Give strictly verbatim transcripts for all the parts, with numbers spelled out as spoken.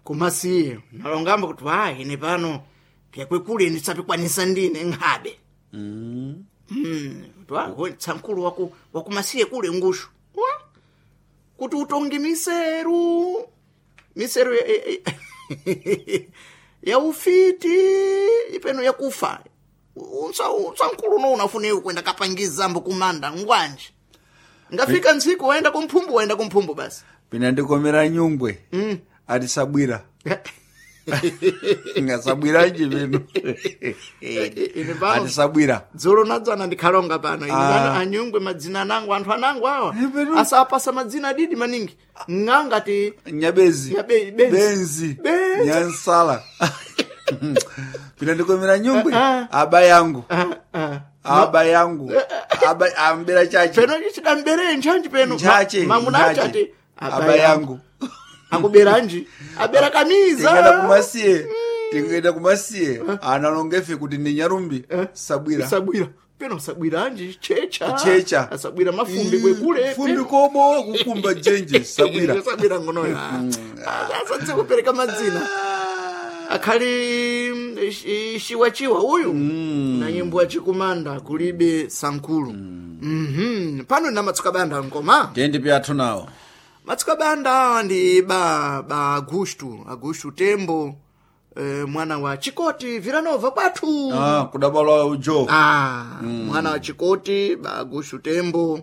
Kumasiye nalongamba kuti wa ine pano pyakwekule ndisapikwanisa ndine nkhabe. Mm. Mm, twa tsankulu waku wakumasiye kule ngushu wa kuti utonge miseru miseru ya, ya, ya ufiti ipeno yakufa unsa tsankulu no unafune kwenda kapangizambo kumanda ngwanje ngafika ntsiku waenda kumphumbu waenda kumphumbu basi. Pina ndikomera nyungwe mm. ati sabwira ngasabwiranji pino. Ine pano ati sabwira dzulo nadzana ndikhalonga pano ine Ah. pano anyungwe madzina anangu anthu anangu awa Eh, peno. asapasa madzina adidi maningi ng'angati nyabezi Nyabe- benzi. benzi Benzi. nyansala pina ndikomera nyungwe Ah, aba yangu ah, ah. aba yangu aba ambera chache peno chidambere nchanji peno nchache mamuna nchache. achati aba yangu akuberanji abera tingenda kamiza kumasiye tingenda kumasiye analongefe kuti ndi nyarumbi sabwira sabwira peno sabwiranji checha checha asabwira mafumbi kwekule fumbi peno. kobo kukumba jenje sabwira sabwira ngonoyo asadze kupereka madzina akhali mm, shi- shiwachiwa uyu na nyimbo ya chikumanda kulibe sankulu. Mhm. Pano na matsuka banda ngoma tendi pyathu nawo matsuka banda awa ndi ba ba Augusto Augusto Tembo eh, mwana wa Chikoti Vilanova kwathu. ah kudabalwa ujo Ah, mwana wa Chikoti ba Augusto Tembo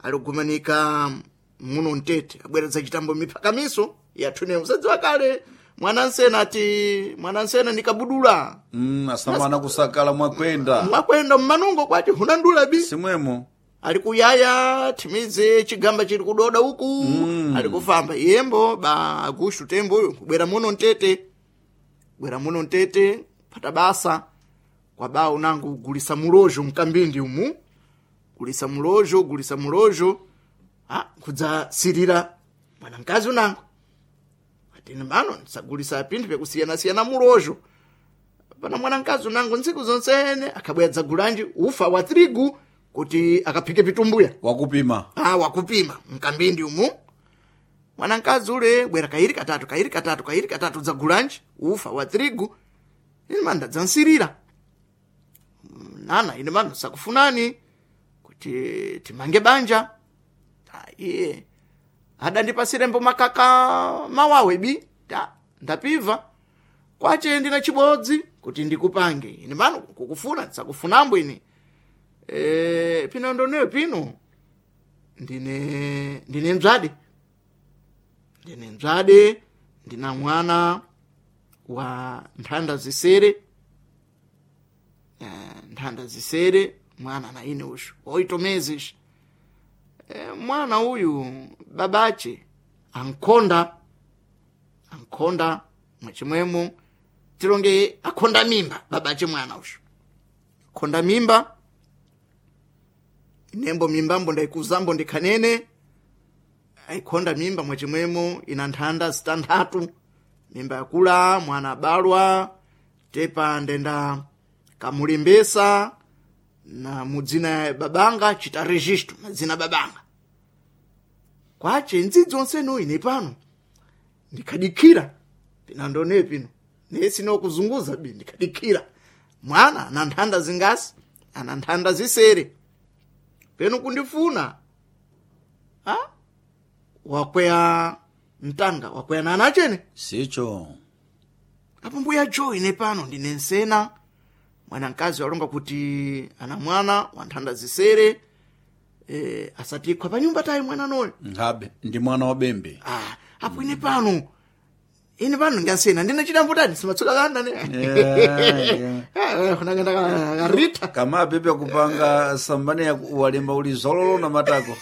alikumanika muno mtete abweretsa chitambo miphakamiso yathune musadziwa kale mwana nsena ati mwana nsena ndikabudula mm, asamana kusakala mwakwenda mwakwenda mmanungo kwati hunandula bi simwemo ali kuyaya thimize chigamba chili kudoda uku mm. ali kufamba yembo ba Augusto Tembo uyu kubwera muno mtete bwera muno mtete pata basa kwa ba unangu gulisa mulojo mkambindi umu gulisa mulojo gulisa mulojo ah kudza sirira mwana mkazi unangu atini bano ndisagulisa pinthu pekusiyana-siyana mulojo pana mwana mkazi unangu ntsiku zonsene akabwera dzagulanji ufa wa trigu kuti akaphike pitumbuya wakupima ah wakupima mkambindi umu mwana mkazi ule bwera kairi katatu kairi katatu kairi katatu dzagulanji ufa wa trigu ine manda dzansirira nana ine mano sakufunani kuti timange banja. Ah, iye adandipasirembo makaka mawawe bi ta ndapiva kwache ndina chibodzi kuti ndikupange ine mano kukufuna ndisakufunambo ine e, pino ndoneyo pino ndine ndine mdzade ndine mdzade ndina mwana wa nthanda zisere. Eh, nthanda zisere mwana na ine ushu oito meses. Eh, mwana uyu babache ankhonda ankhonda mwachimwemo tilonge akhonda mimba babache mwana ushu khonda mimba nembo mimbambo ndaikuzambo ndikhanene aikhonda mimba mwachimwemo ina nthanda zitanthatu mimba yakula mwana abalwa tepa ndenda kamulembesa na mudzina ya babanga chita registro madzina babanga kwache ndzidzi onseno ine pano ndikhadikhira pinandone pino nesi nokuzunguza bi ndikhadikhira mwana ana nthanda zingasi ana nthanda zisere peno kundifuna ha wakweya mtanga wakweya nana achene sicho apo mbuya jo ine pano ndine nsena mwana mkazi walonga kuti ana mwana wa nthanda zisere e, asatikhwa pa nyumba tayi mwana noyo nkhabe ndi mwana wa bembe ah, apo ine pano ine pano ndingasena ndine chidambo tani simatsuka kanda ne Yeah, yeah. Rita kama apepe kupanga sambane ya walemba uli zololo na matako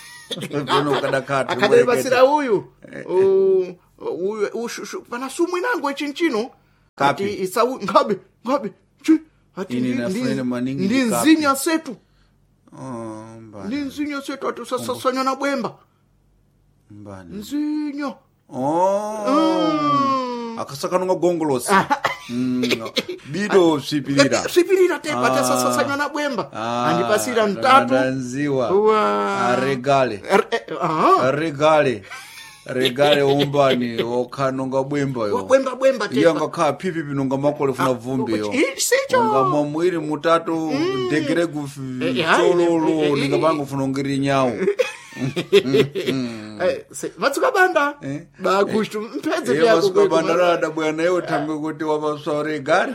peno ukadakhati akadalipasira uyu u- uyu ushu- pana sumu inango ichinchino Kapi. ati isau nkhabe nkhabe chi ati Ine ndi- nafunene ndi- maningi ndi ndi kapi. nzinya setu Oh, mbani, ndi nzinya setu ati usasasanya na bwemba mbani. nzinya Oh. Akasakanunga gongolosi Mm, bido sipirira sipirira tepa Ah. tasasasanya na bwemba Ah, andipasira mtatu ndanziwa Wa- aregale Er- eh, aha. aregale Regale umbani okhanonga bwemba yo. Bwemba bwemba Iyo tepa. angakhala phipi pinonga makole funa vumbi yo. I- sicho. Unga mwamwiri mutatu degere ku Eh, eh, hayi, tsololo eh, eh, ningapanga funa ungiri nyawo. Eh, se- matsuka banda Eh. bagushtu mpedze Iye vyako masuka kweku. banda rada bwana iwe tangwe kuti wapaswa regale.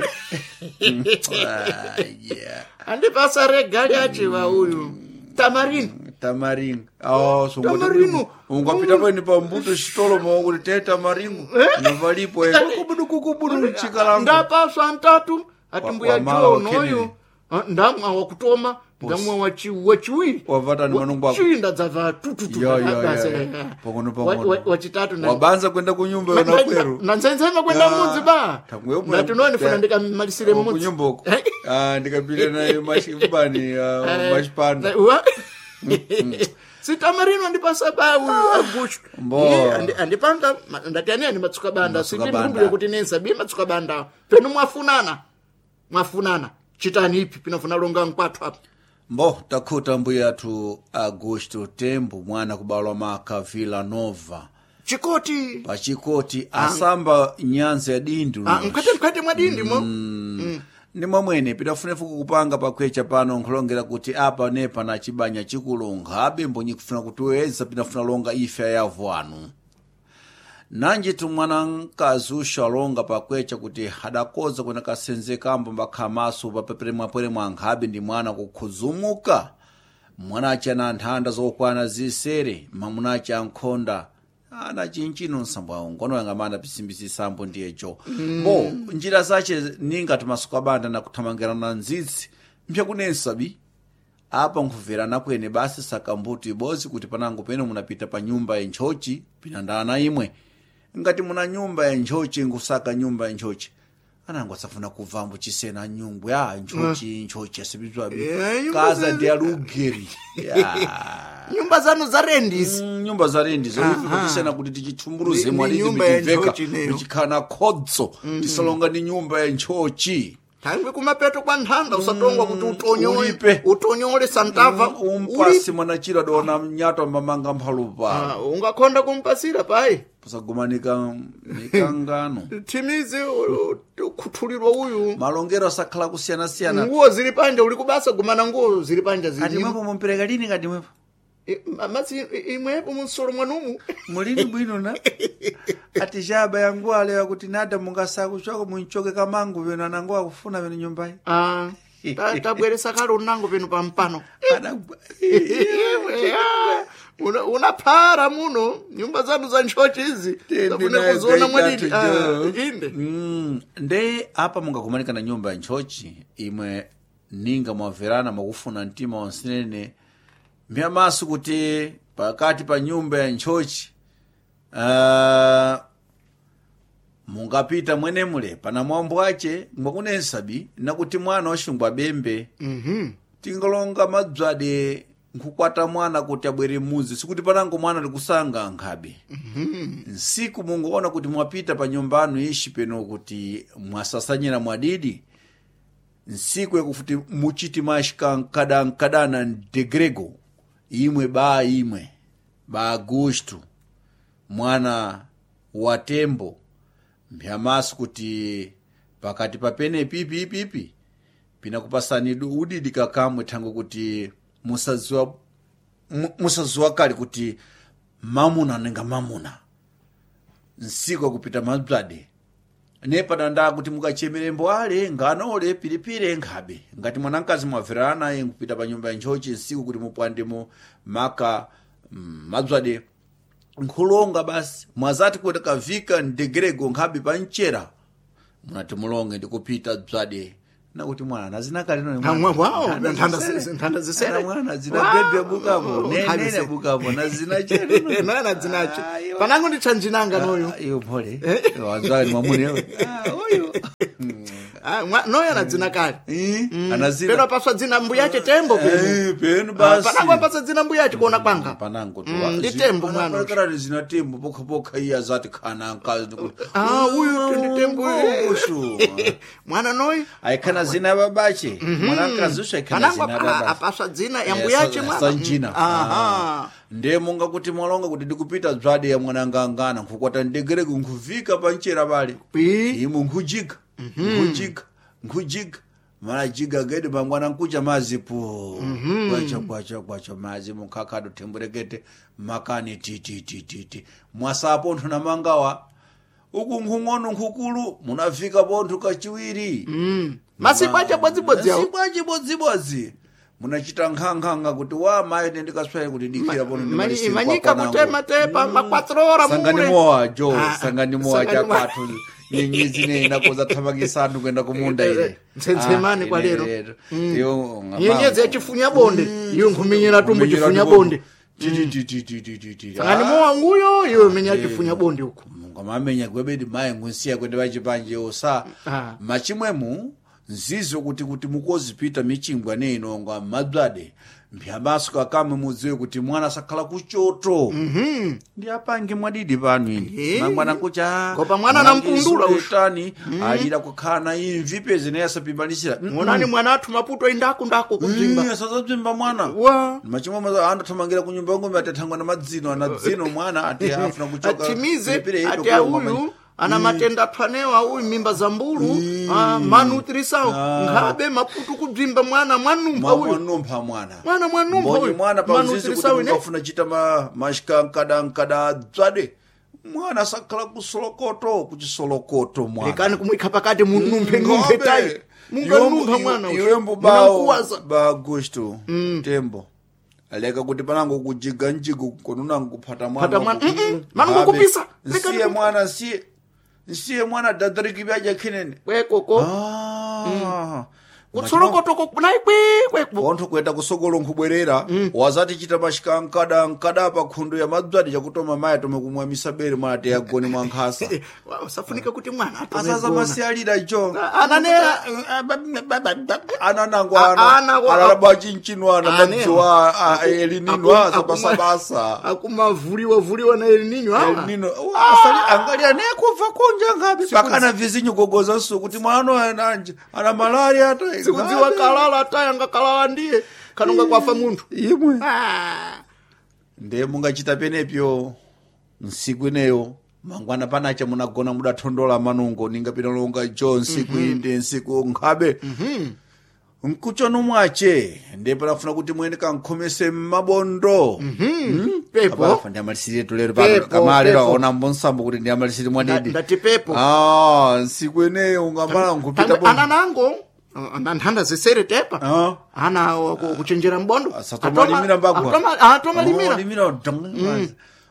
Ah, yeah. Andipasa regali achiva uyu tamarino. Tamaringo. Oh, so Tamarino. Ungapita pene pa mbuto chitolo mawo kuti te tamaringo. Novalipo e kubudu kubudu chikalango. Ndapaswa ntatu ati Wa- mbuya wamala jo wa noyo. Kennedy. Ah, ndamwa wakutoma ndamwa wachi wachiwiri. Wavata ni manungu ako. Chiwi ndadzava tututu. Yo, yo, yo, Basi, yo. eh, Pang'ono, wa- pang'ono. wa- wachitatu na- Wabanza kwenda kunyumba yona kweru. nanzenzema kwenda Ah, mudzi ba tangwe umwe- ndati nonifuna ndikamalisire Oh, mudzi. kunyumba uko. Ah, ndikapita naye mashibani Eh, mashipanda. wa- sitamarino andipasa ba uyu agushu. Mbo. Iye, andi- andipanga ma- ndati ani ani matsuka banda. Matsuka Sindi banda. ndikumbire kuti nensa bi matsuka banda penu mwafunana mwafunana chitani ipi pinafuna longa nkwathu apa. Mbo takhuta mbuya athu Augusto Tembo mwana kubalwa maka Villa Nova. Chikoti. Pachikoti asamba nyanza ya dindu. Ah, mkhate mkhate mwa dindi mo. Ndi mwamwene pidafunefu kukupanga pakwecha pano nkhulongera kuti apa nepa na chibanya chikulonga abe mbonyi kufuna kutiweza pinafuna longa ife ayavu anu. Nanji tumwana mkazi usho alonga pakwecha kuti adakoza kuna kasenze kambo mbakhamaso papepere mwapwere mwa nkhabe ndi mwana kukhuzumuka. Mwana achi ana nthanda zokwana zisere mamuna achi ankhonda ana chinchino nsambo awo ngono yangamana pisimbisi sambo ndiyecho. Mbo njira zache ninga timasuka banda na kuthamangirana nzitsi mpyakunensa bi apa nkubverana kwene basi saka mbuto ibodzi kuti panango pene munapita pa nyumba ya ntchochi pinandana imwe. Ngati muna nyumba ya ntchochi nkusaka nyumba ya ntchochi anango asafuna kubvambo chisena nyungwe a ntchochi ntchochi asipizwabi Eh, nyumba kaza za- ndi alugeri ya. Nyumba zanu za rendisi. Mm, nyumba za rendi zoife kuti tichithumburuze Ni- ni mwalidi nyumba ya michiveka ntchochi neyo. michikhala khodzo tisalonga ndi nyumba ya ntchochi. Thangwi kumapeto kwa nthanda usatongwa kuti utonyole Ulipe. utonyole santava. Umpasi mwanachiro adona mnyato ambamanga mphalupa. Ah, ungakhonda kumpasira payi. Pusagumanika mikangano. Thimizi ukhuthulirwa uyu. Malongero asakhala kusiyanasiyana. Nguwo zili panja uli kubasa gumana nguwo zili panja Kati zili. mwepo mumpereka lini kati mwepo Eh, Madzi imwepo munsolo mwanumu. mulini bwino na ati chaba yangu alewa kuti nada mungasakuchoko munchoke kamangu peno anango akufuna peno nyumbayi. Ah, ta- tabweresa kale unango peno pampano. Ana- Iwe, ah, una- unaphara muno nyumba zanu za ntchochi izi Tende tafune nayo kuziona mwadidi. kaitatu Ah, jo. inde. Mm, nde apa mungakumanika na nyumba ya ntchochi imwe ninga mwamverana mwakufuna mtima wansinene mphiyamaso kuti pakati pa nyumba ya ntchochi uh, mungapita mwenemule pana mwambo ache mwakunensabi nakuti mwana waxungwa abembe. Mhm. Tingalonga madzwade nkukwata mwana kuti abwere muzi sikuti panango mwana likusanga nkhabe. Nsiku mungoona kuti mwapita pa nyumba anu ishi peno kuti mwasasanyira mwadidi nsiku yakufuti muchiti mashika nkadankadana ndegrego imwe ba imwe ba Agusto mwana wa Tembo mphyamaso kuti pakati papene pipi ipipi pinakupasani du- udidi kakamwe thango kuti musaziwa mu- musaziwa kale kuti mamuna ninga mamuna nsiku akupita madzwade nepadanda kuti mukachemerembo ale nganole pilipili nkhabe ngati mwanamkazi mwamverana naye nkupita pa nyumba ya ntchochi nsiku kuti mupwandemo maka mm, madzwade nkhulonga basi mwazati kuti kavika ndegerego nkhabe pa mchera munati mulonge ndikupita dzwade nakuti mwana azinakale Ah, mwa- wow, nthanda zi- nthanda zisere. mwana zina bebe bukapo Wow, nene zisere. bukapo na zina chero Noyo na dzinacho panango nditchanjinanga noyo. Iyo pole wanzwani mwamunewe. Ah, uyu. Ah, mwa- noyo ana dzina kale. Eh, Peno anazina apaswa dzina mbuyache Tembo peno. Eh, penu Ah, basi. panango apasa dzina mbuyache kuona kwanga. Panango tu. Mm, ndi Tembo mwana uyu. Kana zina Tembo pokha pokha iye azati khana nkazi ndikuti. Ah, uyu ndi Tembo. Ushu. Mwana noyo Aikhana zina ya babache. Mwanakazi ushu aikhana panango zina ya apa- babache. apaswa dzina ya Eh, mbuyache sa- mwana. sanjina. Mm, aha. Ndiye munga kuti mwalonga kuti ndikupita dzwadi ya mwanangangana nkukwata ndegereko nkuvika panchera pale. Pi. Imu nkujiga nkujiga nkujiga mara jiga gedi mangwana nkucha mazi po kwacha kwacha kwacha mazi mukhakado themburekete makani tititititi mwasapo nthu na mangawa uku nkhung'ono nkhukulu munafika ponthu kachiwiri. Mm. Masiku acha bodzibodzi awo. Masiku acha bodzibodzi munachita nkhankhanga kuti wa mayi ndikaswere kuti dikira pono ndimalisire Imanyika kwa kutema tepa makwatrora sangani mure. mowa jo Ah, sangani mowa sangani mowa. chakwathu nyenyezi ne inakoza thamangisanu kuenda kumunda ine. Mtsetsemane Ah, kwa ine lero. lero. Iyo, ngapha- Nyenyezi yachifunya bonde iyo nkhumenyera tumbu Kumenyera chifunya tumbo. bonde. Ti, ti, ti, ti, ti, ti, ti, ti. Sangani Ah, mowa nguyo iyo menya chifunya bonde uko. ngamamenya gwebedi mayi ngunsiya kwende vachipanje osa. Ah. Machimwemu nzizo kuti kuti mukozipita michingwa neinonga madzwade mphyamaso kakamwe mudziwe kuti mwana asakhala kuchoto. Ndi apange mwadidi pano ine Eh. mangwana kucha Ngopa mwana nampundula ushu. tani alira kukhala na imvi peze naye asapimbanisira. Ngonani mwana athu maputo indaku ndako kudzimba. Asazadzimba mwana. Wa. Machimwe andathamangira ku nyumba ngombe atathangwa na madzino ana dzino mwana ati afuna kuchoka Atimize Pilipili ati ido kulonga auyu ana matenda athwanewa uyu mimba za mbulu ah, manutrisawo Ah. nkhabe maputo kudzimba mwana mwanumpha Mwa- uyu. mwanumpha mwana. Mwana mwanumpha mbonye uyu. mwana pauzizi kuti Manutrisawo ine. mungafuna chita ma- mashikankada nkada dzwade mwana asakhala kusolokoto kuchisolokoto mwana. Lekani kumwikha pakati munumphe numphe tayi. Munganumpha mwana uyu. iwembo bawo Munamkuwaza. ba Augusto Tembo leka kuti panango kujiga njigo konunango kuphata mwana Phata mwana, uku. mm, mm, mano Habe. ngokupisa. Lekani Nsiye kup- mwana nsiye nsiye mwana dadariki byaja khinene. Kwekoko. Ah. Kutsolokotoko nayi kwe kweko. Pontho kuenda kusokolo nkhubwerera wazati chita mashika nkada nkada pa khundu ya madzwadi chakutoma mayi atome kumwa misabere mwana ati agone mwa nkhasa. Usafunika kuti mwana atome Asaza gona. masiyalira jo. Ananera Ana nango A- ana ana wa- alalaba chinchino ana Ane. madziwa elinino Aku- asabasabasa. akumavuliwa vuliwa na elinino awa. Elinino asali angalia nekubva kunja ngapi pakana vizinyu gogoza nsu kuti mwana ananje ana malaria ata Sikudziwa kalala taya ngakalala ndiye kanonga kwafa munthu. imwe. Ah. Ndiye mungachita penepyo nsiku ineyo mangwana panacha munagona mudathondola manungo ningapita longa jo nsiku iyi ndi nsiku nkhabe nkuchono mwache ndiye panafuna kuti mwene kankhomese mmabondo. Pepo. Apafa ndi amalisire tulero pano Pepo, kamalero pepo. aona mbonsambo kuti ndi amalisire mwadidi. Nda- ndati pepo. Ah, nsiku ineyo ungamala nkupita Tangwe bo ana nango ah, nthanda zisere tepa. Ah. Ana wa- ku- kuchenjera mbondo. Asatomalimira mbagwa. Atoma- Atomalimira. Oh, limira dong.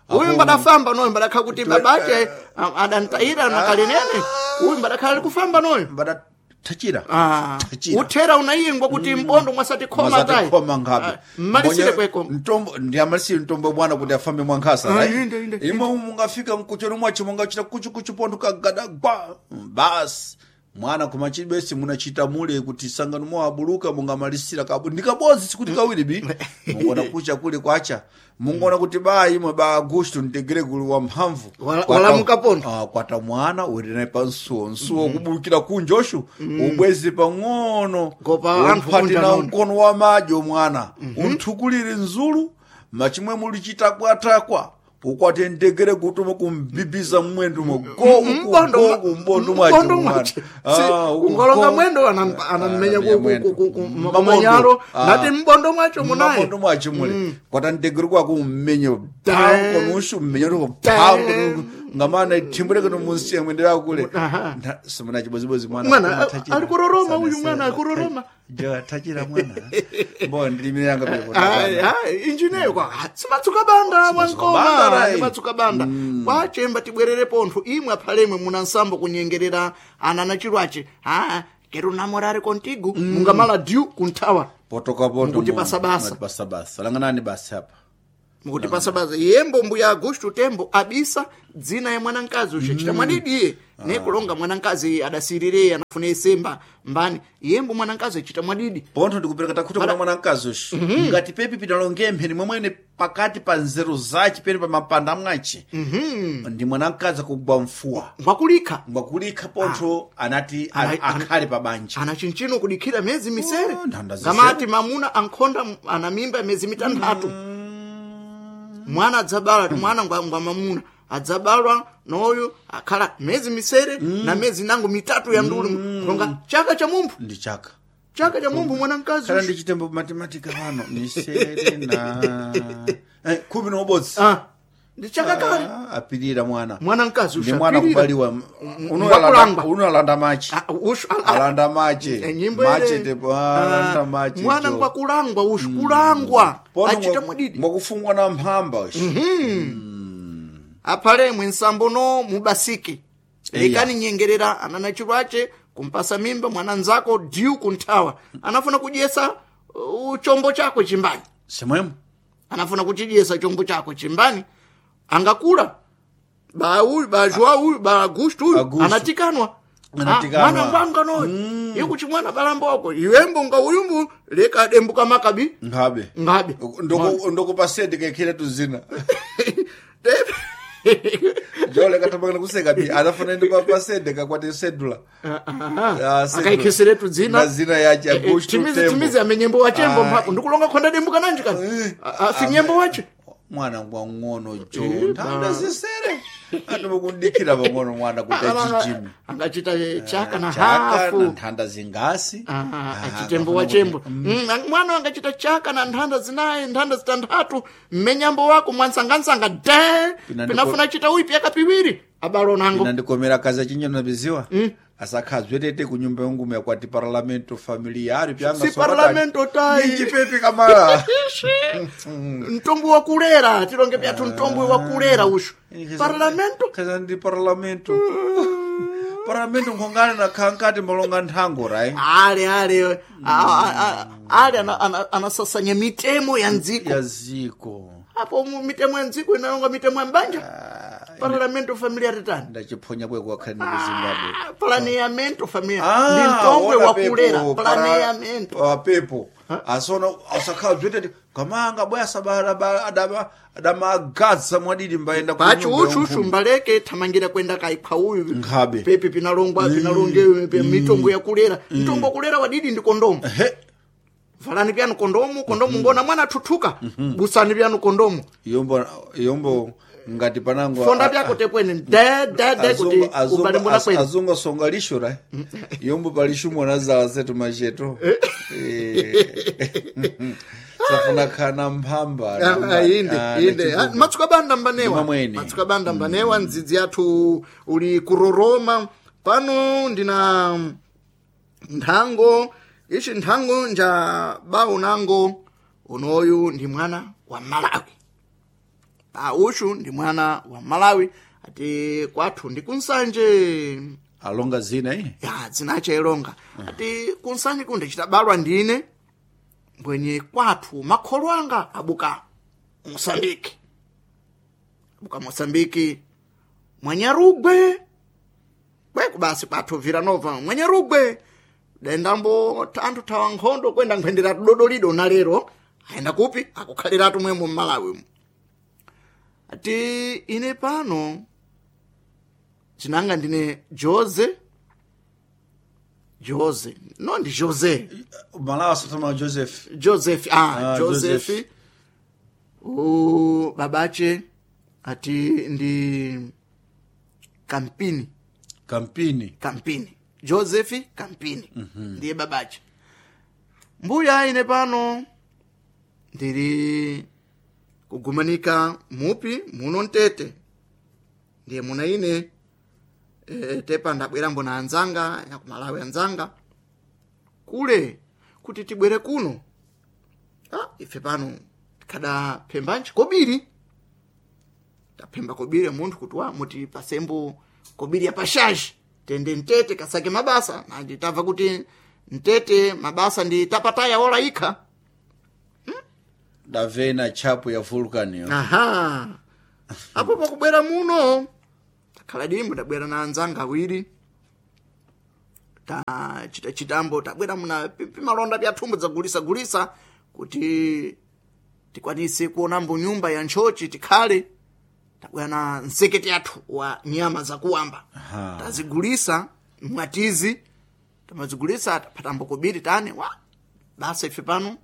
Uyu mbadafamba noyo mbadakhala kuti babache ah, adantayira nakalenene. Uyu mbadakhala ali kufamba noyo. Mbada tachira. Ah, Tachira. uthera unayingwa kuti mbondo mwasati khoma tayi. Khoma ngabe. Ah, mmalisire Mbonye- kweko. Mtombo ndi amalisire mtombo mwana kuti afambe mwankhasa Ah, right? inde, inde, Imwe mungafika mkuchero mwacho mungachita kuchu kuchu pontho kagada gwa. Basi. Mwana kumachibesi munachita mule kuti sangano mwabuluka mungamalisira kabu ndikabozi sikuti kawiri bi mungona kucha kule kwacha mungona kuti ba imwe ba Augusto ntegere kuli wa mphamvu. Wala- Kwata- walamuka pontho. Ah, kwata mwana uri naye pansuwo nsuwo kubulukira kunjoshu ubwezi pang'ono Ngopa anthu umphati kunja na nono. mkono wa madyo mwana unthukulire nzulu machimwe mulichitakwatakwa ukwate ndegere kutuma kumbibiza mwendo mo go Mbondo go kumbondo mwacho mbondo mwana. mwache. Ah, Si, uku ungolonga go. mwendo anam- anammenya Anamenya ku- mwendo. ku- ku- ku- Mabondo. kumanyalo Ah. nati mbondo mwacho munaye. Mabondo mwacho mule kwata ndegere kwako ummenye Ta- pankonushu mmenye Ta- ngamana thimbureke nomunsiya mwendera kule. Aha. Nta- simuna chibozibozi mwana Mwana, koma tachira. ali kuroroma Sana uyu sera. mwana, ali kuroroma. Jo, tachira mwana mbo ndilimiranga pepo. Ai, ai, injineyo kwa simatsuka banda banda, mwankoma rai. simatsuka banda kwachemba tibwerere pontho imwe aphalemwe muna nsambo kunyengerera ana na chilwache ah quero namorar contigo mungamala dyu kunthawa Potoka poto Mukuti mu- pasabasa. mukuti pasabasa langanani basi apa. Mukuti pasabasa yembo mbuya Augusto Tembo abisa dzina ya mwanamkazi uxachita mwadidiye ne kulonga mwanamkazi adasirire anafuna isemba mbani yembo mwanamkazi achita mwadidi. Pontho ndikupereka takhuta kuna mwana mkazi uxu ngati pepi pinalonge mpheni mwemwene pakati pa nzeru zace pene pa mapanda mwace ndi mwana mkazi akugwa mfuwa Ngwakulikha. ngwakulikha pontho anati Ana- a- akhale pa banja. Ana chinchino kudikhira miyezi misere. Oh, nthanda zisere. Ngamati mamuna ankhonda ana mimba miyezi mitanthatu. Mwana adzabala ti mwana ngwa ngwa mamuna adzabalwa noyu akhala mezi misere na mezi nango mitatu ya ndulu kulonga chaka cha mumphu Ndi chaka. Chaka cha mumphu mwana mkazi Khala ushu. ndi chitembo mathematika pano misere na eh, khumi na ubodzi. Ah, ndi chaka kale. Ah, apirira mwana. Mwana mkazi Ndi ushu mwana apirira. kubaliwa. Ngwakulangwa. Uno alanda machi. Ah, ushu ah, ah, Alanda machi. Eh, nyimbo Machi ile. ndipo alanda Ah, machi. mwana jo. ngwakulangwa ushu kulangwa Pono achita ngwa- mwadidi ngwakufungwa na mphamba ushu. aphale mwinsambo no mubasike Eya. lekani nyengerera anana chilwache kumpasa mimba mwana nzako diu kunthawa anafuna kudyesa uh, chombo chako chimbani. Simwemo. Anafuna kuchidyesa chombo chako chimbani angakula ba uyu ba Joao uyu ba Augusto uyu Augusto. anatikanwa. Anatikanwa. Ah, mwana ngwanga noyo ikuchi mwana balamboko iwembo nga uyumbu leka dembuka makabi. Nkhabe. Ngabe. Ndoko ndokupasende kekhele tuzina. Jole katamangana kuseka bi anafuna ndi papasende kakwati sedula. Ah, sedula. Akaikhiseretu dzina. Na zina yache Eh, eh, Augusto timizi Tembo. timizi amenyembo wachembo Ah. mpako ndikulonga khonda dembuka nanji kani. Eh. Ah, ah, si nyembo wache. Mwana ngwang'ono jo nthanda zisere atomukundikira pang'ono mwana kuti achichime. Angachita eh, chaka na Chaka na hafu. nthanda zingasi. Ah, Ah, achitembo akafuna wachembo. kuti- Mm, ang- mwana angachita chaka na nthanda zinayi nthanda zitanthatu mmenyambo wako mwansangansanga de. Pina ndiko- Pinafuna chita uipi yakapiwiri abalo nango. Inandikomera kazi achinyo biziwa asakhazwe tete kunyumba yangumu yakwati parlamento familiari pyanga Si parlamento tai. ninjipepi kamala. Mtombo wakulera tilonge pyathu mtombo wakulera ushu parlamento. Kaza ndi parlamento parlamento nkhongana na khankati malonga nthango right. Ale ale a- a- a- ale ana- ana- anasasanya mitemo ya ndziko. Ya ziko. Apo mu- mitemo ya ndziko inalonga mitemo ya mbanja parlamento familiar tani. Ndachiphonya kweko wakhale ndi ku Zimbabwe. Ah, planeamento familiar Ah, ndi mtongwe ona wakulera pepo, para- planeamento. pa pepo asona asakhala bzwetete kamanga bwaya sabada adamagadza mwadidi mbayenda ku Pacho nyumba uchu ya uchu mbaleke thamangira kwenda kaikhwa uyu. Nkhabe. Pepi pinalongwa pinalonge pe mitombo yakulera mtombo wakulera wadidi ndi kondomu. Ehe. Valani pyanu kondomu kondomu ngona mwana athuthuka busani pyanu kondomu. Yombo yombo ngati panango Fonda a- pyako tepwene de de de kuti azungu- azungu- ubalimbula az- kwene. azungu asonga lisho ra yombo palishumo nazala zetu macheto. Eh. Safuna khana mphamba Ah, namba- ah, inde ah, inde. Ah, nachibuku. matsuka banda mbanewa. Ndimamwene. Matsuka banda mbanewa ndzidzi yathu uli kuroroma pano ndina nthango ichi nthango nja bau nango unoyu ndi mwana wa Malawi pa ushu ndi mwana wa Malawi ati kwathu ndi kunsanje. Alonga zina eh? Ya dzinache ilonga ati kunsanje kundichitabalwa ndine mbwenye kwathu makholo anga abuka Mosambiki abuka Mosambiki mwanyarugwe kweku basi kwathu Viranova mwanyarugwe dendambo anthu thawa nkhondo kwenda nkhwendera tudodolido na lero ayenda kupi akukhaliratu mwemo mmalawi mu ati ine pano dzinanga ndine Jose Jose no ndi Jose. Malawi asatama Joseph. Joseph ah, Ah, Joseph, Joseph. U babache ati ndi Kampini. Kampini. Kampini Joseph Kampini ndiye babache mbuya ine pano ndiri kugumanika mupi muno mtete ndiye muna ine e, tepa ndabwerambo na anzanga ya kumalawi anzanga kule kuti tibwere kuno ah, ife pano tikhada phembanji kobiri taphemba kobiri munthu kuti wa muti pasembo kobiri ya pashaji tende mtete kasake mabasa nandi tamva kuti mtete mabasa ndi tapataya ola ikha. Davena chapu ya vulcan yo. Aha apo pakubwera muno takhala dimbo tabwera na anzanga awiri tachita chitambo tabwera muna pimalonda pya thumbo dzagulisa-gulisa kuti tikwanise kuonambo nyumba ya ntchochi tikhale tabwera na nsekete yathu wa nyama zakuwamba. Aha. Tazigulisa mwatizi tamazigulisa taphatambo kobiri tane wa basa ife pano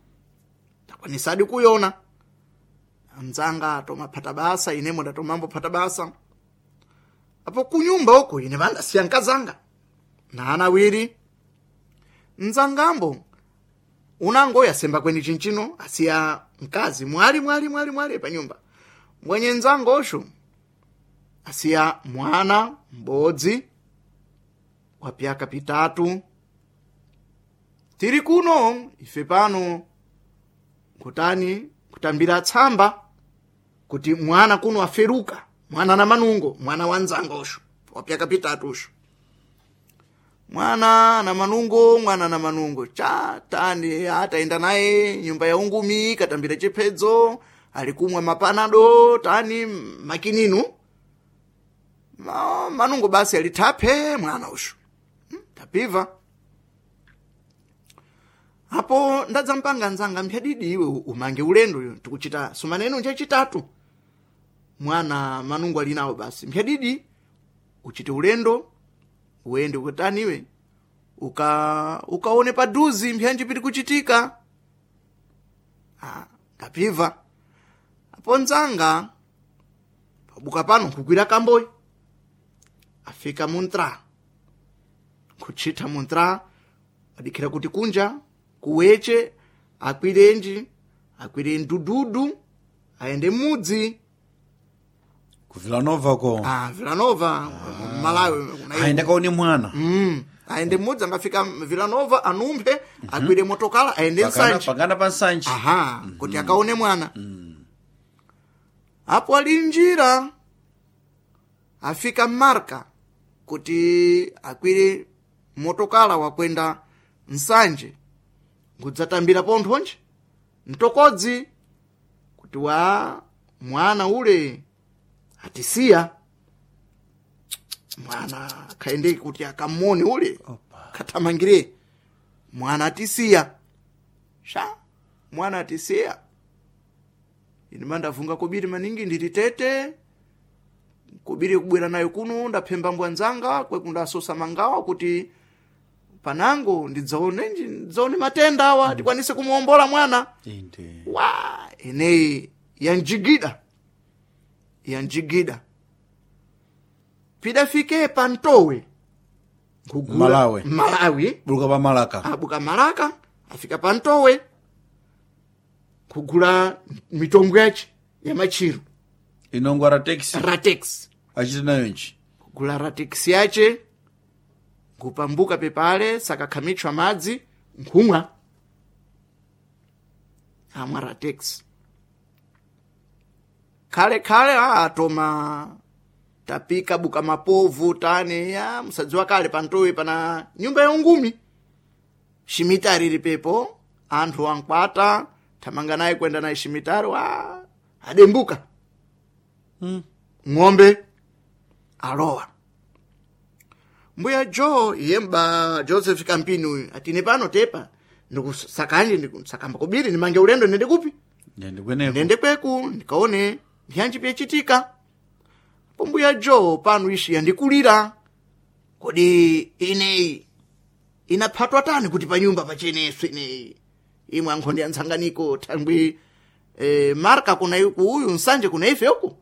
takwanisadi kuyona. Mzanga tomaphata basa, inemo ndatomambophata basa. Apo kunyumba uko ine vandasiya nkazanga na ana awiri. Mzangambo unango yasemba kweni chinchino asiya mkazi mwali mwali mwali mwali panyumba. Mwenye nzangosho asiya mwana mbodzi wa pyaka pitatu. Tiri kuno ife pano kutani kutambira tsamba kuti mwana kuno aferuka, mwana na manungo, mwana wa nzangosho wa pyaka pitatusho. Mwana na manungo, mwana na manungo cha tani ataenda naye nyumba ya ungumi katambira chiphedzo, alikumwa mapanado tani makininu Ma, manungo basi alitaphe mwana ushu. Hmm, tapiva apo ndadzampanga nzanga mphyadidi iwe umange ulendo uyu tikuchita sumaneno nchachitatu mwana manungo ali nawo basi mphyadidi uchite ulendo uende ukataniwe uka ukaone paduzi mpyanji piti kuchitika. Ah, ndapiva apo nzanga pabuka pano nkukwira kamboyi afika muntra kuchita muntra adikhira kuti kunja kuweche akwirenji akwire ndududu aende mudzi Ku Villanova ko. Ah, Villanova Malawi kuna Aende kaone mwana. Mm. Aende mudzi angafika Villanova anumphe akwire motokala aende Pakana Nsanje. pakana pa Nsanje. Aha, kuti akaone mwana. Apo ali njira afika Marka kuti akwire motokala wakwenda Nsanje ngudzatambira ponthonje mtokodzi kuti wa mwana ule atisiya mwana khaende kuti akamone ule Opa. kathamangire mwana atisiya sha mwana atisiya ine mandavunga kobiri maningi ndili tete kobiri kubwera nayo kuno ndaphemba mbwa nzanga kwekundasosa mangawa kuti panango ndidzaone ndidzaone matenda awa tikwanise kumuombola mwana Inde. wa eneyi yanjigida yanjigida pidafike pantowe Nkugula- Malawi. Malawi Buluka pa Malaka. abuka Malaka afika pantowe kugula mitongo yace ya machiro Inongwa ra taxi. ratex Achite nayo nchi. kugula ratex yace nkupambuka pepale sakakhamitchwa madzi nkhumwa amwa ratex khale khale atoma tapika buka mapovu tani ya musadziwa kale pantowe pana nyumba ya ungumi shimitari iri pepo anthu ankwata thamanga naye kwenda naye shimitari wa adembuka Mm. ng'ombe alowa mbuya jo iye mba Joseph Kampini uyu atine pano tepa ndikusakanje ndikusakamba kubiri ndimange ulendo ndende kupi Ndende kweneko. ndende kweku ndikaone mpyanji pyachitika po mbuya jo pano ishi yandikulira kodi ineyi inaphatwa tani kuti panyumba pacheneso ineyi imwe ankhonde ya ntsanganiko thangwi eh, marka kuna uyu Nsanje kuna ife uku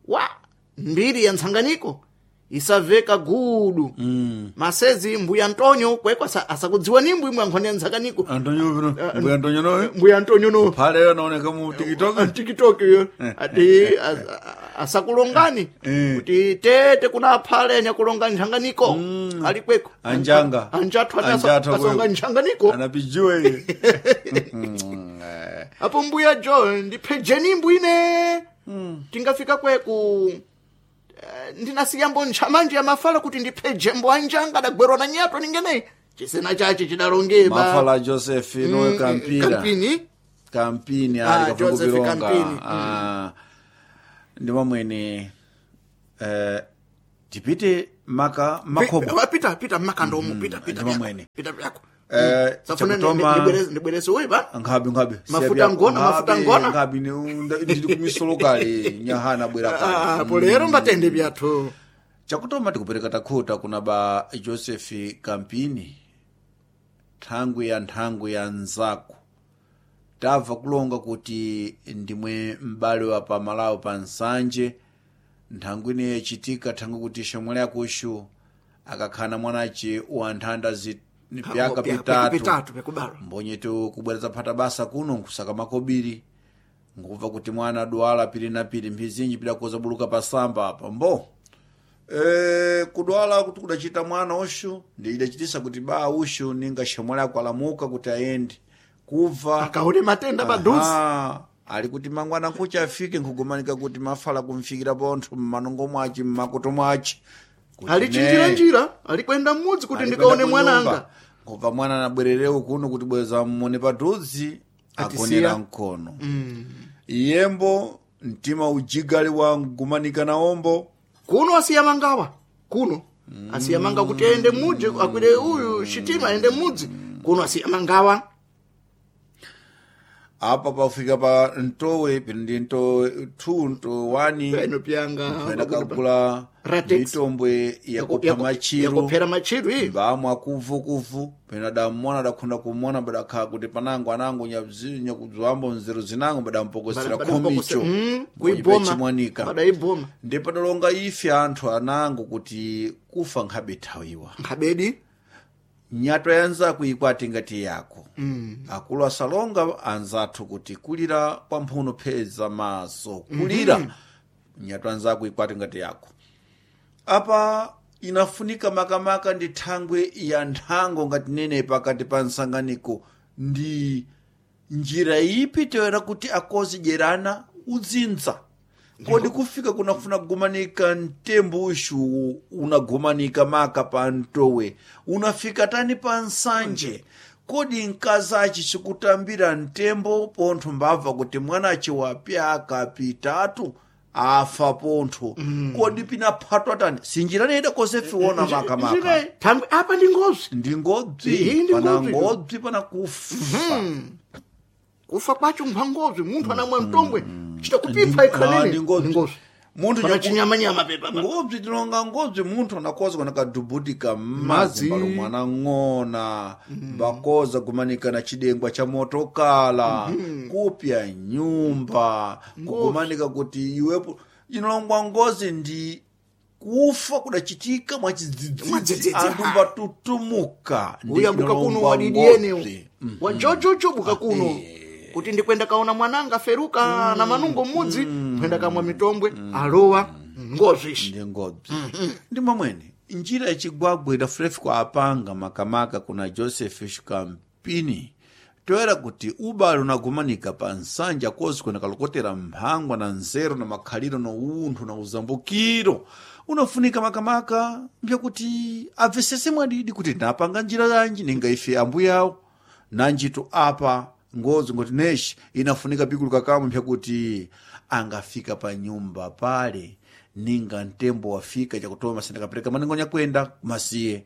wa mbiri ya ntsanganiko isaveka gudu Mm. masezi mbuya Antonio kwekwa asa- asakudziwa nimbu imwe ankhonde ya ntsanganiko Antonio vino. Mbuya Antonio noyo. mbuya Antonio no Phale yo naoneka mu TikTok. TikTok yo ati as- a- asakulongani Eh. kuti tete kuna phale anyakulonga nthanganiko ali kweko Anjanga. anjathu ati asa- Anjathu asonga kweko. nthanganiko Anapijiwa iye. apo mbuya jo ndiphejeni imbu ine tingafika kweku eh, ndinasiyambo ntchamanji ya mafala kuti ndiphejembo anjanga adagwerwa na nyato ningeneyi chisena chache chidalongeba Mafala Joseph noyo Kampira. Kampini Kampini Ah, ali kafungo Joseph bilonga. Kampini. Ah. Ndi mamwene eh tipite maka makhobo. Pi- pita pita mmakandomo pita pita ndi mamwene. pita pyako Eh, safuna chakutoma- ndibwerese uyi pa Nkhabi nkhabi. Mafuta ngona, mafuta ngona. Nkhabi ndili kumisolo kale nyahana bwera kale. Ah, polero mbatende byathu Chakutoma tikupereka takhuta kuna ba Joseph Kampini thangwi ya nthangwi ya nzaku Tabva kulonga kuti ndimwe m'bale wa pamalawi pa nsanje nthangu ine yachitika thangu kuti shomwe lyakushu akakhana mwanace wa nthanda zi pyaka pitatu pitatu pyakubalwa mbonyeto kubwereza phata basa kuno nkusaka makobiri nkubva kuti mwana adwala pili na pili mphizinji pidakoza buluka pasamba apa mbo e, kudwala kuti kudachita mwana ushu ndi idachitisa kuti ba ushu ninga shomwe lako alamuka kuti ayende kubva akaone matenda padusi Aha, ali kuti mangwana nkuchi afike nkugumanika kuti mafala kumfikira pontho mmanongo mwaci mmakoto mwaci Kuti ali chinjira ne, njira ali kwenda mudzi kuti ali ndikaone kwenda mwananga kunyumba. Kubva mwana anabwererewo kuno kuti bweza mmone padhuzi Atisiya. agonera mkono iyembo mtima ujigali wa ngumanika naombo kuno asiya mangawa kuno asiya manga kuti aende mudzi akwire uyu shitima aende mudzi kuno asiya mangawa apa pafika pa ntowe pino ndi ntowe two ntowe one peno pyanga pena kagula Ratex. mitombwe yakupha machiru yakuphera machiru iyi mbamwe akuvukuvu pena damona dakhunda kumona badakhala kuti panango anango nyabzi- nyakudzwambo nzeru zinango badampokosera khomicho Mm, kuiboma kuiboma chimwanika badaiboma ndi padalonga ife anthu anango kuti kufa nkhabe thawiwa nkhabedi nyatwa ya anzako ikwati ngati yako mm. akulu asalonga anzathu kuti kulira kwa mphuno pheza maso kulira mm -hmm. nyatwa anzako ikwati ngati yako apa inafunika makamaka ndi thangwe ya nthango ngati nene pakati pa nsanganiko ndi njira ipi toyera kuti akozidyerana udzinza kodi kufika kunafuna kugumanika mtembo ushu unagumanika maka pa mtowe unafika tani pa nsanje kodi mkazachi sikutambira mtembo pontho mbabva kuti mwanachi wapyaka pitatu afa pontho mm. kodi pinaphatwa tani sinjira neda kosefiona makamaka Njira- thangwe apa ndi ngozi ndi Iyi ngobzi ndi pana ngobzi. ngobzi pana kufa kufa kwacho nkha ngozi munthu anamwa mtombwe chita kupipha Ah, ikhanene ndi ngobzi. ngozi munthu pana nyaku- chinyamanyama pepa pa. ngobzi tilonga ngobzi munthu anakoza kana kadubudika mmadzi Madzi. mbalo mwana ng'ona mbakoza kumanika na chidengwa cha motokala kupya nyumba kugumanika kuti iwepo inolongwa ngozi ndi kufa kudachitika mwachidzidzidzi Mwadzidzidzi, anthu ha. mbatutumuka ndi uyabuka kuno inolongwa wadidiene ngobzi. wajojojo buka kuno kuti ndikwenda kaona mwananga feruka na manungo mudzi kwenda kamwa mitombwe alowa ngozi ishi ndi ngobzi ndi momwene njira yachigwagwa idafulefu apanga makamaka kuna joseph shikampini toyera kuti ubale unagumanika pa nsanja kozi kwena kalokotera mphangwa na nzeru na makhaliro na unthu na uzambukiro unafunika makamaka mbyakuti abvesese mwadidi kuti napanga njira yanji ninga ife ambuyawo nanjito apa ngozi ngoti neshi inafunika pikuluka kamwe mpyakuti angafika pa nyumba pale ninga mtembo wafika chakutoma sindakapereka maningo nyakwenda kumasiye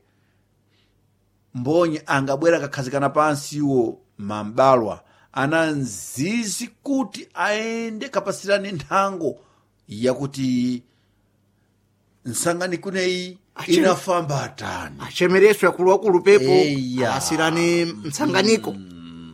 mbonye angabwera akakhazikana pansiwo mambalwa ana nzizi kuti aende kapasirane nthango yakuti nsanganiko ineyi Achiri- inafamba tani achemereso akuluakulu pepo Eya. asirane mtsanganiko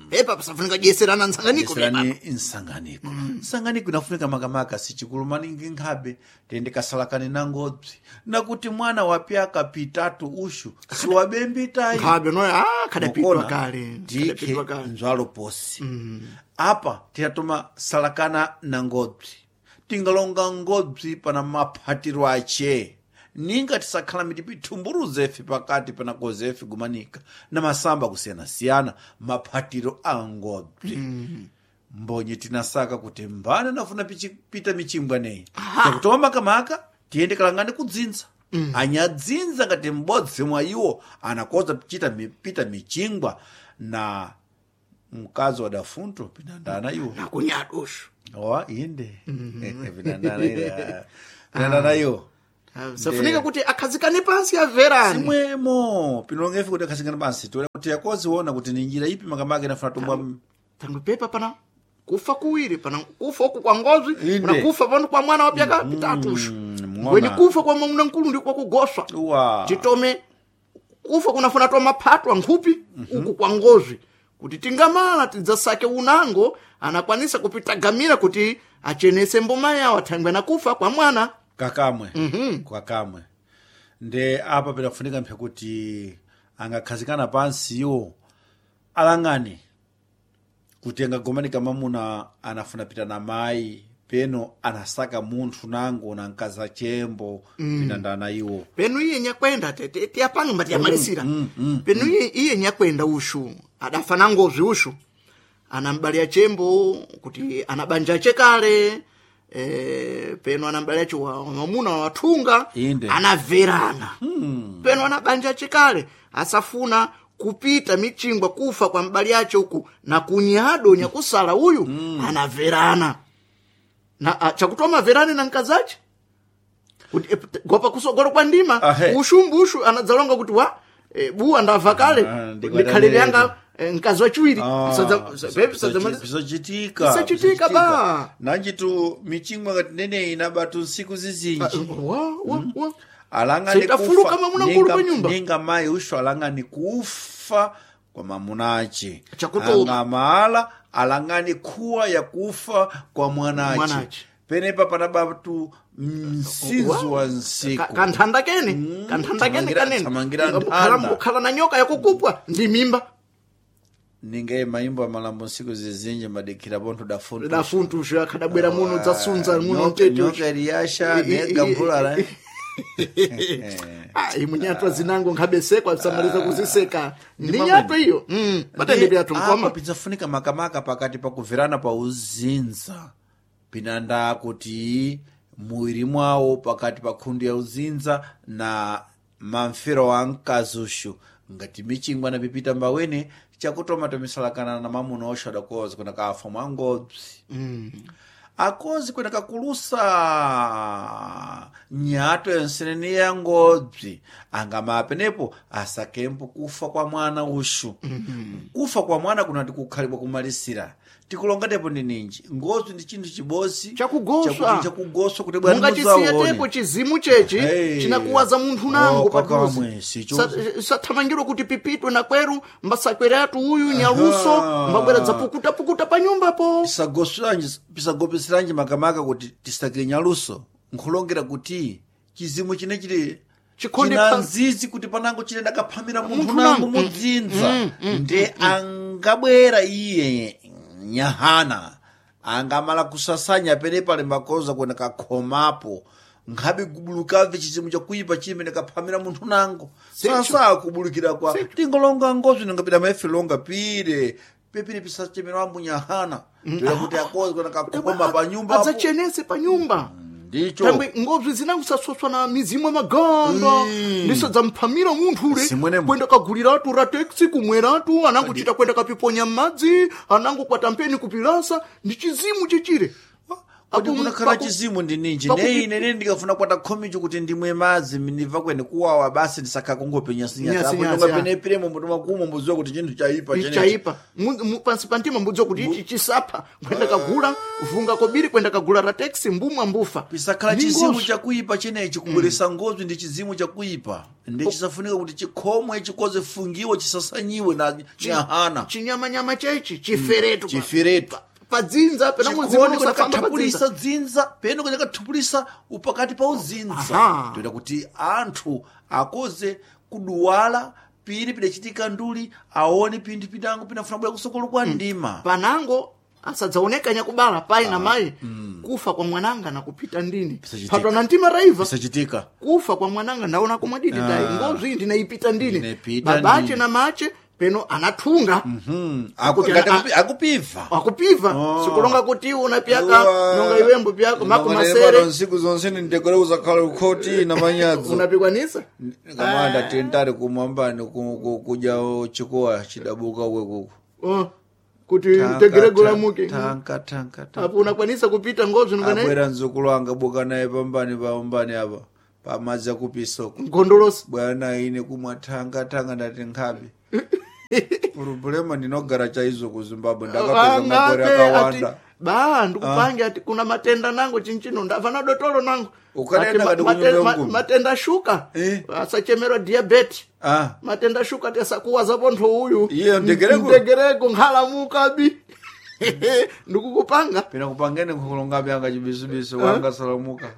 pepa pasafunika dyetserana mtsanganiko pepa Yeserani nsanganiko nsanganiko inafunika makamaka sichikulu maningi nkhabe tende kasalakane na ngobzi nakuti mwana wapyaka pitatu ushu siwabembitayi nkhabe noyo ah kadapitwa Mukona, kale ndikhe kadapitwa kale nzwalo posi apa tinatoma salakana na ngobzi tingalonga ngobzi pana maphatiro ache ninga tisakhala mitipithumburuzefe pakati pana kozefe gumanika na masamba kusiyanasiyana maphatiro a ngobzi mbonye tinasaka kuti mbana nafuna pichi- pita michimbwa neyi takutoma makamaka tiyende kalangane kudzinza mm. anyadzinza ngati m'bodzi mwa iwo anakoza pichita mi- pita michingwa na mkazi wa dafunto pinandana iwo nakunyadosho owa inde pinandana iwo pinandana iwo safunika kuti akhazikane pansi amverane simwemo pinolongefe kuti akhazikane pansi tione kuti yakoziona kuti ni njira ipi makamaka inafuna tombwa thangwe pepa pana kufa kuwiri pana kufa uku kwa ngozi Inde. pana kufa pano kwa mwana wapyaka pitatusho mwona. kweni kufa kwa mwamuna nkulu ndi kwa kugoswa uwa titome kufa kunafuna twa maphatwa nkhupi uku kwa ngozi Kuti tingamala tidzasake unango anakwanisa kupitagamira kuti achenese mboma yawo athangwe nakufa kwa mwana. Kakamwe. Mm -hmm. Kakamwe. Nde apa pinafunika mphe kuti angakhazikana pansi iwo alang'ane kuti angagomanika mamuna anafuna pita na mayi peno anasaka munthu nango na mkazi chembo mm. pinandana iwo peno iye nyakwenda tiyapanga mbatiyamalisira mm, mm, mm, peno iye, iye nyakwenda ushu adafa na ngozi ushu anambalya chembo kuti anabanja chekale e, peno anambalya chiwa mwamuna wathunga Inde. anaverana hmm. Peno anabanja chekale asafuna kupita michingwa kufa kwa mbali yache uku na kunyado nyakusala uyu mm. anaverana na chakutoma verane na mkazache kuti gopa kusogolo kwa ndima Ahe. ushumbushu anadzalonga kuti wa e, buwa ndava kale Ah, ndikhalire yanga e, mkazi wachiwiri Ah, pisachitika pisachitika Pisachitika ba. nanjitu michingwa ngati neneyi inabatu nsiku zizinji wa wa wa alangani Sitafuluka kufa mamuna nkulu ninga- pa nyumba. ninga mayi usho alangani kufa kwa mamunache Chakutoma. angamala alangani khuwa ya kufa kwa mwanache Mwanache. penepa panabatu msinzi wa nsiku Ka- kanthanda kene kanthanda kene thamangira- kanene thamangira Ukhala- nthanda. ukhala na nyoka yakukupwa ndi mimba ningaye mayimbo amalambo nsiku zizinji madikhira pontho dafuntu dafuntushu akhadabwera muno dzasunza muno Nyoka- mtete nyoka iliyasha nega mvula Ah, imwe nyatwa zinango nkhabesekwa samaliza kuziseka ndi nyatwa iyo mm patende pyathu apa nkoma pidzafunika makamaka pakati pakuverana pa uzinza pinanda kuti muwiri mwawo pakati pa khundu ya uzinza na mamfero wa mkazuxu ngati michingwa na pipita mbawene chakutoma tomisalakana na mamuna oxo adakoza kuna kafa mwa ngobzi mm. akozi kwena kakulusa nyato yensenene ya ngobzi angama penepo asakempo kufa kwa mwana uxu mm-hmm. kufa kwa mwana kunati kukhalibwa kumalisira tikulongatepo ndi ninji ngobzi ndi chinthu chibosi Chakugoswa. chakuti chakugoswa kuti bwana mungachisiya mudzaone. tepo chizimu chechi Hey. chinakuwaza munthu nango Oh, paduze kakamwe, sicho. sathamangirwa kuti pipitwe na kweru mbasakweratu uyu nyaluso Aha. mbabwera dzapukutapukuta pa nyumbapo Pisagosweranji- pisagopesiranji makamaka kuti tisakire nyaluso nkhulongera kuti chizimu chine chili Chikhonde china pa- nzizi kuti panango chine ndakaphamira munthu Munthu nango nango. mudzinza nde angabwera iye nyahana angamala kusasanya pene pali makoza kuona kakhomapo nkhabe kubulukamve chizimu chakuipa chimene kaphamira munthu nango sasa kubulukira kwa tingolonga ngozwi ningapita maefe longa pire pepire pisachemera ambu nyahana toera kuti akozi kuona kakhoma pa nyumba apo. adzachenese pa nyumba ndicho tambwe ngobzi zinango na mizimu yamaganga ndiso dzamphamira munthu ule Simwenemwe. kwenda kaguliratu rateksi kumweratu anangochita kwenda kapiponya m'madzi anango kwatampeni kupilasa ndi chizimu chechire kuti Apo- kunakhala paku- chizimu ndi ninji pakuti- nei inene ndikafuna kwata khomicho kuti ndimwe madzi ndibva kwene kuwawa basi ndisakha kungopenya Nyasi, nyasi, sinyatapene piremo mbuto makumo mbuziwa kuti chinthu chaipa chenechi chaipa Mu- mu- pansi pa mtima mbudziwa kuti ichi chisapha kwenda kagula vunga kobiri kwenda kagula rateksi mbumwa mbufa pisakhala Ndi chizimu ngozwi. chakuipa chenechi kubweresa ngozwi ndi chizimu chakuipa ndi chisafunika kuti chikhomwe chikoze fungiwe chisasanyiwe na nyahana chinyamanyama chechi chiferetu pa- chiferetu padzinza pena muzimu chikondi usafamba kathapulisa padzinza dzinza peno kathapulisa upakati pa uzinza Aha. toita kuti anthu akoze kuduwala pili pidachitika nduli aone pinthu pinango pinafuna bwera kusokolo kwa ndima panango asadzaoneka nyakubala pai na mayi kufa kwa mwananga nakupita ndini Pisachitika. patwa na mtima raiva pisachitika kufa kwa mwananga ndaona komwe didi tayi ngozwi ndinaipita ndini Ndinaipita babache ndini. na mache peno anathunga Aku- Kuti ngati ana- akupi- akupiva akupiva sikulonga kuti unapyaka nonga iwembo pyako mako masere nsiku zonse ndintekere uzakhala ukhoti na manyadzo unapikwanisa kamanda tentari kumwambani ku- ku- kudya chikowa chidabuka wekuku Oh, kuti tegeregolamuke tanka tanka tanka apo unakwanisa kupita ngozwi nongana abwera mzukulu anga buka naye pambani pambani apa pamadzi akupisoko ngondolosi bwana ine kumwa thanga thanga ndati nkhabe purobulema ndinogara chaizo ku Zimbabwe ndakapedza makore Angabe ati akawanda ba ndikupange ati kuna matenda nango chinchino ndava na dotolo nango Ukanena Ati ma- kati mate- kunyumba ma- mkumi. matenda shuka Eh. asachemerwa diabeti Ah. Matenda shuka tesakuwaza pontho uyu. Iye, ndegereko. Ndegereko nkhalamukabi. Ndikukupanga. Pena kupangene nkhulonga byanga chibisubisu wanga salamuka.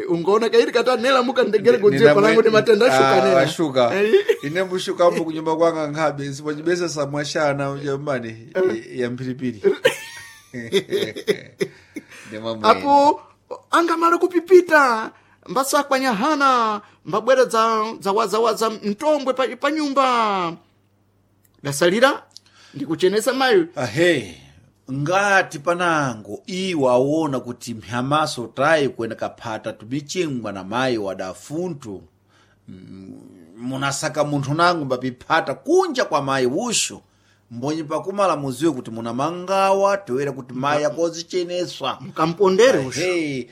Ungaona kairi katanelamuka ndegereko dziye palangu ndi matenda shuka nena. Ashuka. Eh. Ine mbushuka mbu kunyumba kwanga nkhabe sipo chibesa samwashana jamani ya mphiripiri. Ndimamwe. Apo angamala kupipita mbasakwanyahana mbabwera dza dzawazawaza mtombwe pa, pa nyumba dasalira ndikuchenesa mayo. Ahe, ngati panango iwo awona kuti mphamaso tayi kuenda kaphata tumichingwa na mayi wadafuntu Mm, munasaka munthu nango mbapiphata kunja kwa mayi wushu mbonyi pakumala muziwe kuti muna mangawa toera kuti mayi akozicheneswa. Mkampondere ushu. Hey,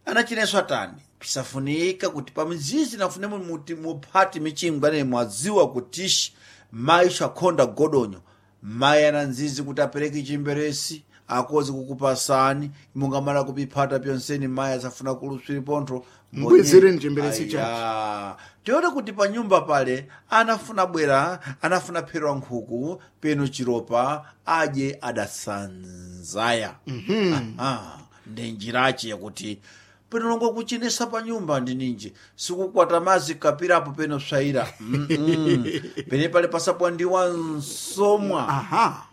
anachineswa tani pisafunika kuti pamzizi nafune muti muphati michingwa ne mwadziwa kutishi mayi akhonda godonyo mayi ana nzizi kuti apereke chimberesi akozi kukupasani mungamala kupiphata pyonseni mayi asafuna kuluswiri pontho. Mbwezereni chimberesi chake. Aya. Tione kuti pa nyumba pale anafuna bwera anafuna phero nkhuku peno chiropa adye adasanzaya. Aha, ndi njirachi yakuti peno longo kuchenesa pa nyumba ndi ninji sikukwata mazi kapirapo peno swayira. Mm -mm. Pene pale pasapwandiwa nsomwa. Aha.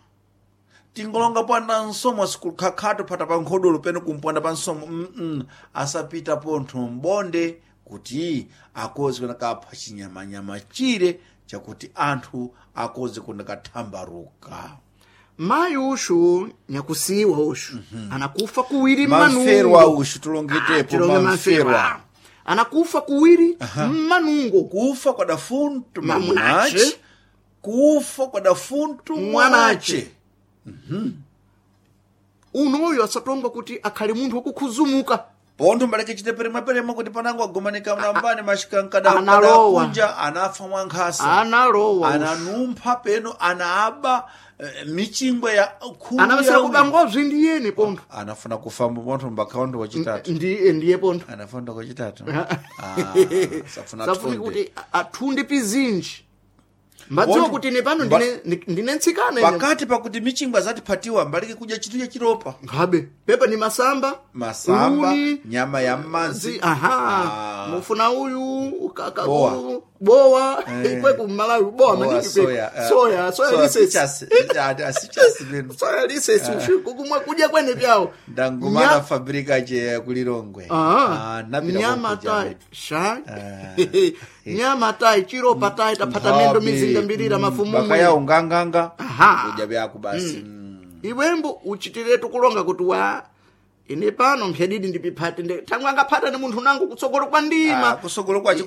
Tingolonga pwanda nsomwa sikukhakhatu phata pa nkhodolo peno kumpwanda pa nsomwa. mm -mm. Asapita pontho mbonde kuti akozi kunakapha chinyamanyama chire chakuti anthu akozi kunakathambaruka. Mayi ushu nyakusiwa ushu anakufa kuwiri mamferwa mmanungo. ushu Ah, tulongetepo tilonge mamferwa. mamferwa anakufa kuwiri mmanungo. Kufa kwa dafuntu Mamunache. mamunache, kufa kwa dafuntu Mwanache. mwanache. Unoyo asatongwa kuti akhale munthu wokukhuzumuka. Pontho mbaleke chite peremweperemwe kuti panango agomanika mlambani Analowa. mashikankadakunja anafa mwankhasa. Analowa ushu. Ananumpha peno anaaba eh, michingwe ya khumi Anavasira ya kuba ngozwi ndiyeni pontho. Anafuna kufamba pontho mbakhaondo wachitatu. Ndiye ndiye pontho. Anafunda kwachitatu. Ah, safuna safuni athunde. kuti athunde pizinji mbadziwa Pontho- kuti ine pano mba- ndine ndine ntsikana ine. Pakati pakuti michingwe azatiphatiwa mbaleke kudya chinthu cha chiropa. Nkhabe pepa ni masamba. Masamba, luni, nyama ya mmadzi. zi- aha. Ah. Mufuna uyu ka- ka- Bowa. ku- bowa. Eh. Kweku mmalawi bowa Bowa, maningi soya, kweku. eh, Soya soya soya lisesi. pichasi. Ah, ah, sichasi peno. Soya lisesi ushu kukumwa kudya kwene pyawo. Ndangumana Nya- fabrika che kulilongwe. Ah, Ah, napita nyama kokuja tai mwetu. sha nyama tai chiropa tai taphata mendo Nkhabe, mizinga mbirira mm, mafumu bakayawo nganganga Aha. kudya byako basi. Mm. Iwembo uchitiretu kulonga kuti wa ine pano mphedidi ndipiphate nde thangwe angaphata ni munthu nangu kutsogolo kwa Ah, ndima. kusogolo kwacho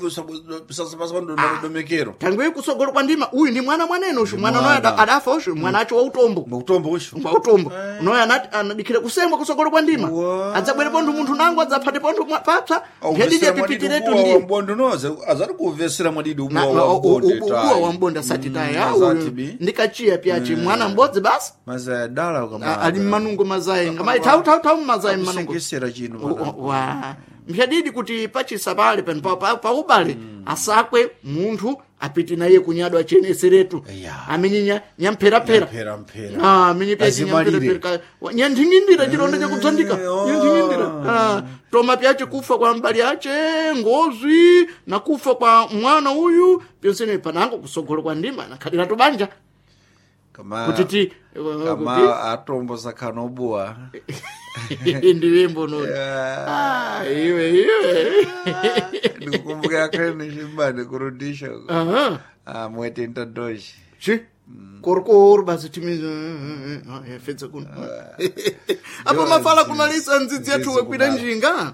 kusasapasapandodomekero. Thangwe kutsogolo kwa ndima uyu ndi mwana mwanene ushu mwana unoyo Mwana. ada- adafa ushu mwana acho wautombo. Mukutombo ushu. Wautombo unoyo anati anadikhira kusengwa kutsogolo kwa ndima. Wa. Adzabwere pontho munthu nangu adzaphate pontho mwa- papsa mphedidi apipitiretu ndi mbondo noze azati kuvesera mwadidi Na- ubuwa na- wa u- u- mbonde ubuwa wa mbonde asati tayi ah, azati uyu bi. ndikachiya pyachi mwana m'bodzi basi. Mazaya dala A- kama ali mmanungo mazayi ngamayi thawu thawu thawu mmazayi mmanungo. Akusekesera chino Wa- pana. wa mphadidi kuti pachisa pale pano pa- pa- paubale asakwe munthu apite naye kunyadwa acheneseretu. Eya. Amenye nyampherapera. Mphera mphera. Ah, amenye pyachi Azimalire. nyampherapera nyanthing'indira chilonda chakudzandika. Eh, oh. Nyanthing'indira. Ah, toma pyachi kufa kwa mbali yache ngozwi na kufa kwa mwana uyu pyonsene panango kusogolo kwa ndima nakhalira tubanja. Kama Kuti ti kama atombo sakhano obuwa. Ndiwembo noni. Ah, iwe iwe. Ndikukumbuka akhale nichimbani kurudisha. Aha. Ah, mwete ntadoshi. Chi? Korokoro basi timi fedza kuno. Apo mafala kumalisa ndzidzi yathu Ndzidzi wekwira kumala. njinga.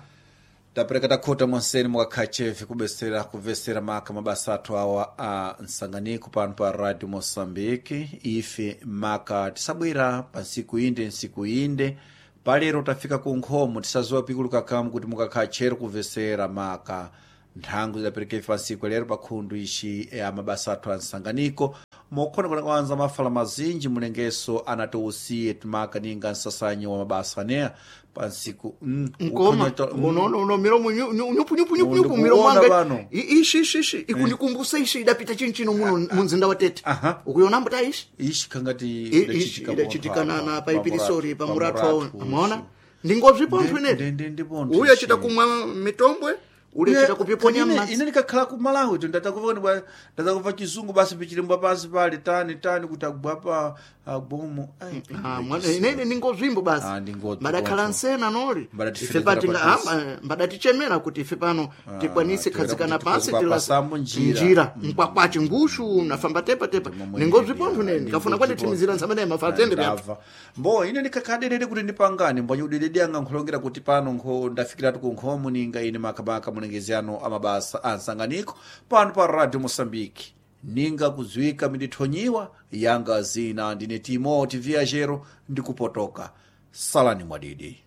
Tapereka takhota monseni mukakhachefe kubesera kuvesera maka mabasa athu awa a nsanganiko pano pa radio Moçambique ife maka tisabwera pa ntsiku inde ntsiku inde palero tafika ku nkhomo tisaziwa pikulu kakamu kuti mukakhala tchero kuvesera maka nthangu zidapereka ife pa ntsiku lero pa khundu ixi ya mabasa athu a nsanganiko. mokhona kuna kwanza mafala mazinji mulengeso anatiusiye timaka ninga nsasanyi wa mabasa aneya pansiku mm, Nkoma ukhonyo- mm, unono uno milomo nyu- nyu- nyupu nyupu nyupu nyupu Ndikuona milomo wanga pano. I- ishi ishi ishi ikundikumbusa ishi idapita chinchino muno munzinda wa Tete Aha. ukuyonambo ta ishi ishi kangati I- ishi idachitikana na paipirisori pamuratu awo amaona ndingozvipontho inene ndindipontho uyu achita kumwa mitombwe uli achita kupiponya ine ine ndikakhala ku Malawi to ndatakuva ndatakuva chizungu basi pichilembwa pansi pali tani tani kuti agwa pa agomo Ai, Ah, mwana inene ningozvimbo basi Ah, ndingodzwi mbadakhala pontho. nsena noli Mbadatifetera ife patinga patisi. ah, mbadatichemera kuti ife pano tikwanise tiwera khazikana kuti pansi tikhoza tila- pasambo njira. njira mkwakwachi ngushu nafamba tepa tepa ningozvipontho nene kafuna kwandithimizira ntsamene mafatende pyathu ndabva mbo ine ndikakhaderere kuti ndipangane mbwanyi udedede anga nkhulongera kuti pano nkho ndafikiratu ku nkhomo ninga ine makamaka mulengezi ano amabasa a nsanganiko pano pa radio Moçambique ninga kudziwika mindithonyiwa yanga zina ndine Timoti Viajero ndikupotoka salani mwadidi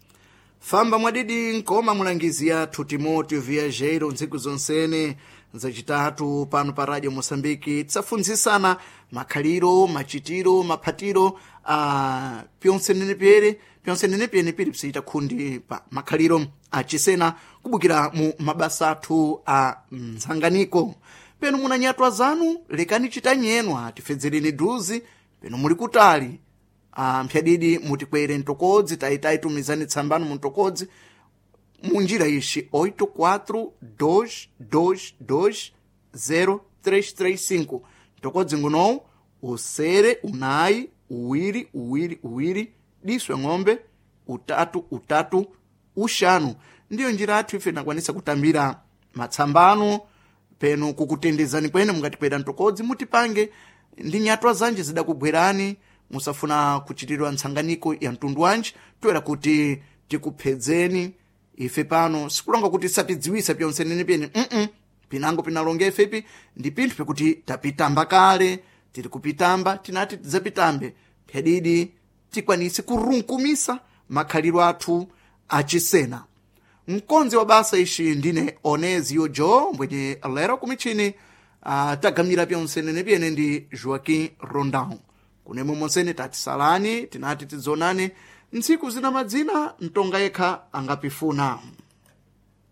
famba mwadidi nkoma mulangizi yathu Timoteo Viajeiro ntsiku zonsene zacitatu pano pa radio Moçambique tisafunzisana makhaliro machitiro maphatiro a pyonsenene pyere pyonsenene pyene pili psiyita khundi pa makhaliro acisena kubukira mu mabasa athu a mtsanganiko penu muna nyatwa zanu lekani chitanyenu tifedzereni duzi penu muli kutali Ah, mphyadidi mutikwere mtokodzi taitayi tumizani tsambano muntokodzi munjira ixi oito quatro dois dois dois zero três três cinco mtokodzi ngunowu usere unayi uwiri uwiri uwiri diswe ng'ombe utatu utatu uxanu ndiyo njira athu ife tinakwanisa kutambira matsambano penu kukutendezani kwene mungatikwera mtokodzi mutipange ndi nyatwa zanji zidakugwerani musafuna kuchitiridwa ntsanganiko ya mtundu wanji toera kuti tikuphedzeni ife pano sikulonga kuti satidziwisa pyonsenene pyene mm pinango pinalonga ifepi ndi pinthu pikuti tapitamba kale tiri kupitamba tinati tidzapitambe pyadidi tikwanise kurunkumisa makhaliro athu achisena mkonzi wa basa ixi ndine Onezio Jo mbwenye lero kumichini uh, tagamira pyonsenene pyene ndi Joaquim Rondão kunemwe monsene tatisalani tinati tidzonane ntsiku zina madzina mtonga yekha angapifuna.